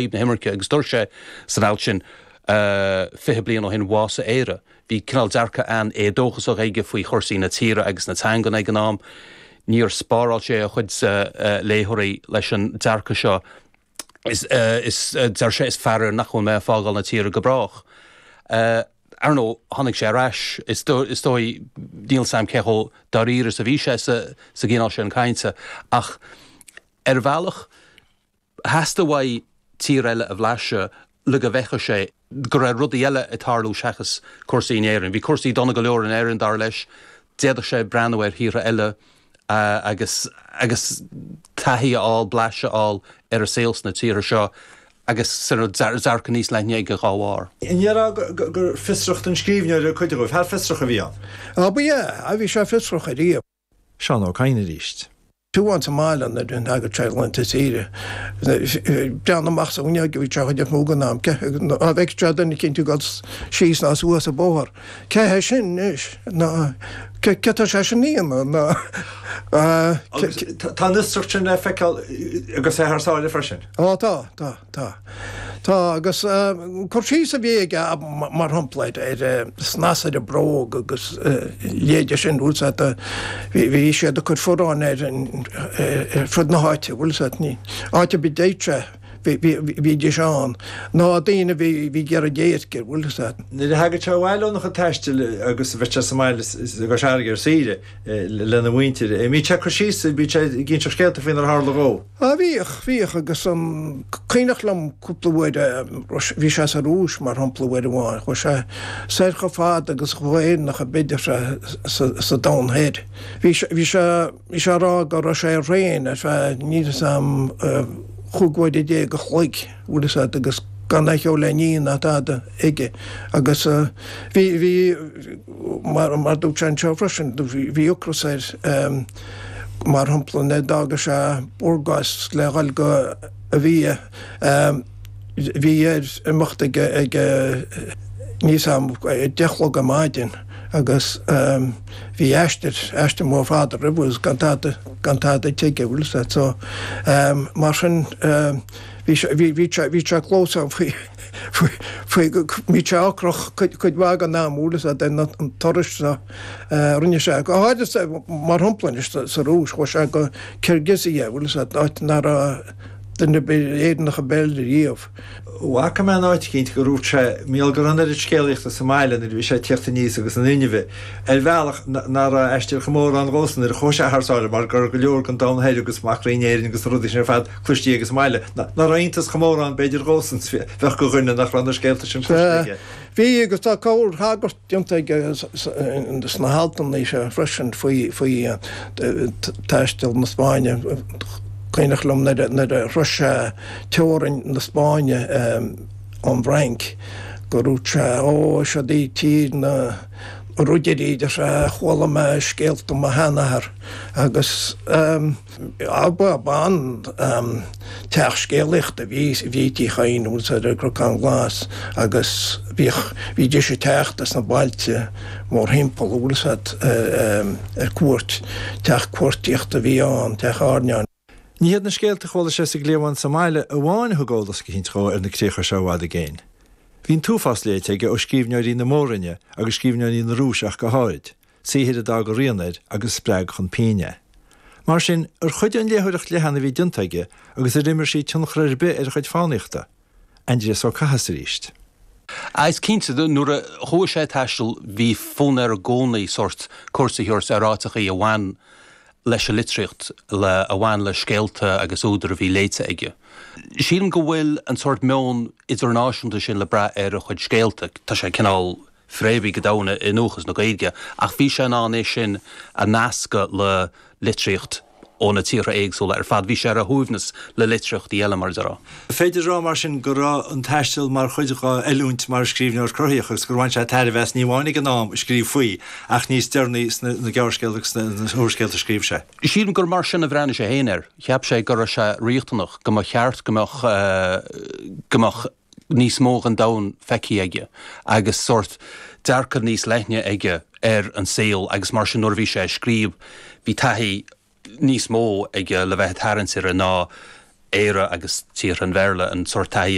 Na himirce agus dúirt sé san alt sin 20 bliain ó shin bhásaigh Éire. Bhí cineál dearcadh an-éadóchasach aige faoi chúrsaí na tíre agus na teangan ag an am. Níor spáráil sé a chuid léitheoirí leis an dearcadh seo. Is, is, deir sé, is faraor nach bhfuil mé ag fágáil na tíre go brách. Ar ndóigh, tháinig sé ar ais. Is dóigh, níl 's a'm cé chomh dáiríre is a bhí sé sa gcineál sin cainte, ach ar bhealach, Theastaigh uaidh tír eile a bhlaiseadh le go bhfeicfeadh sé go raibh rudaí eile ag tarlú seachas cúrsaí in Éirinn. Bhí cúrsaí dona go leor in Éirinn, dar leis. D'fhéadfadh sé breathnú ar thíortha eile agus agus taithí a fháil, blaiseadh a fháil ar an saol sna tíortha seo agus dearcadh níos leithne aige dá bharr. An ndéarfá gur fiosracht an scríbhneora a cuid dhó? Fear fiosrach a bhí ann. Á, ba ea. Bhí sé fiosrach ariamh. Seán Ó Cadhain arís. Fiú amháin sa mbaile nuair a thagadh sé laethanta saoire, breathnú amach sa bhfuinneog a bhí sé an chuid is mó den am, dá bhfeicfeadh sé duine eicínt ag dul síos ná suas an bóthar, cé hé sin anois? Ná cé tá sé sin a dhéanamh? Ná. Agus tá an fhiosracht sin le feiceáil agus é thar sáile freisin. Á tá, tá. Tá. Tá, agus cur síos a bhí aige, mar shampla, ar snasar bróg agus a leithéide sin, bhfuil 's a'd, bhí siad ag cur fuaráin air ar fud na háite, bhfuil 's a'd, ní, áit ar bith a dtéadh sé, bhídís ann, ná daoine a bhí ag iarraidh déirce, bhfuil 's a'd. Nuair a thagadh sé abhaile óna chuid taistil agus a bheadh sé sa mbaile i gCois Fharraige ar saoire lena mhuintir, an mbíodh sé ag cur síos, bíodh sé ag inseacht scéalta faoinar tharla dhó? Á bhíodh, bhíodh agus an cuimhneach liom cúpla uair, bhí sé sa Rúis mar shampla uair amháin, chuaigh sé soir chomh fada agus chomh Éireannach ab fhéidir sa domhan thoir. Bhí sé, bhí sé, bhí sé ag rá go raibh sé ar thraein ar feadh, níl 'fhios a'm, chúig uaire déag a chloig, bhfuil 'fhios a'd, agus gan aon cheo le ní ná tada aige agus bhí, bhí, mar, mar dúirt sé anseo freisin, bhí ocras air. Mar shampla, nuair a d'fhága sé Burgas le dhul go Sofia, bhí air imeacht ag, níl 'fhios a'm, 10 a chlog ar maidin agus bhí aistear, aistear mór fada roimhe agus gan tada, gan tada ite aige, bhfuil 'fhios a'd. So, mar sin, bhí sé, bhí, bhí sé, bhí sé clamhsán faoi, faoi, faoi, bhí sé ocrach cuid, cuid mhaith den am, bhfuil 'fhios a'd, an turas seo. Rinne sé, go háirithe, mar shampla anois sa Rúis, chuaigh sé go Kirghizia, bhfuil 'fhios a'd, áit nach raibh duine ar bith Éireannach ar bith eile riamh. Bhfaca mé in áit eicínt gur dhúirt sé, mar gheall go raibh an oiread scéalaíochta sa mbaile nuair a bhí sé ag tíocht aníos agus an inmhe, ar bhealach, nach raibh aistear chomh mór ann dhósan nuair a chuaigh sé thar sáile mar go raibh go leor den domhan thoir agus macraí in Éirinn agus na rudaí sin ar fad cloistí aige sa mbaile. Nach raibh iontas chomh mór ann b'fhéidir dhósan is a bheadh do dhuine nach raibh na scéalta sin cloiste aige. Bhí agus tá corrthagairt déanta aige sna haltanna seo freisin faoi taisteal na Spáinne. Cuimhneach liom nuair a shrois sé teorainn na Spáinne ón bhFrainc go ndúirt sé, Ó, siod í tír na ríogaí, deir sé, chuala mé scéalta ó mo sheanathair agus. Ba an-teach scéalaíochta a bhí i dTí Chadhain, bhfuil 's a'd, ar an gCnocán Glas agus bhíodh, bhídís ag teacht as na bailte mórthimpeall, bhfuil 's a'd, ar cuairt. Teach cuartaíochta a bhí ann, teach airneáin. Ní hiad na scéalta a chuala sé sa gcliabhán sa mbaile amháin a thug eolas eicínt dhó ar na críocha seo i bhfad i gcéin. Bhí an t-uafás léite aige ó scríbhneoirí na Mór-Roinne agus scríbhneoirí na Rúise ach go háirid. saothair a d'fhág a rian air agus a spreag chun pinn é. Mar sin, ar chuidigh an léitheoireacht leathan a bhí déanta aige agus ar imir sí tionchar ar bith ar a chuid fánaíochta? Aindrias Ó Cathasaigh arís. Is cinnte, nuair a chuaigh sé ag taisteal, bhí fonn air i gcónaí sórt cuairt a thabhairt ar áiteachaí a bhain leis an litríocht, le, a bhain le scéalta agus údair a bhí léite aige. Sílim go bhfuil an sórt meon idirnáisiúnta sin le brath ar a chuid scéalta. Tá sé cineál fréamhaithe go domhain i ndúchas na Gaeilge, ach bhí sé in ann é sin a nascadh le litríocht ó na tíortha éagsúla ar fad. Bhí sé ar a shuaimhneas le litríochtaí eile, mar a déarfá. Féidir a rá, mar sin, go raibh an taisteal mar chuid dhá oiliúint mar scríbhneoir cruthaitheach agus gur bhain sé tairbhe as ní amháin ag an am a scríobh faoi ach níos deireanaí sna gearrscéalta agus sna húrscéalta a scríobh sé. Sílim gur mar sin a bhreathnaigh sé féin air. Cheap sé go raibh sé riachtanach, go mba cheart go mbeadh, go mbeadh, níos mó den domhan feicthe aige agus sórt dearcadh níos leithne aige ar an saol agus mar sin nuair a bhí sé ag scríobh bhí taithí níos mó aige le bheith ag tarraingt uirthi ná Éire agus tíortha an Bhéarla, an sórt taithí.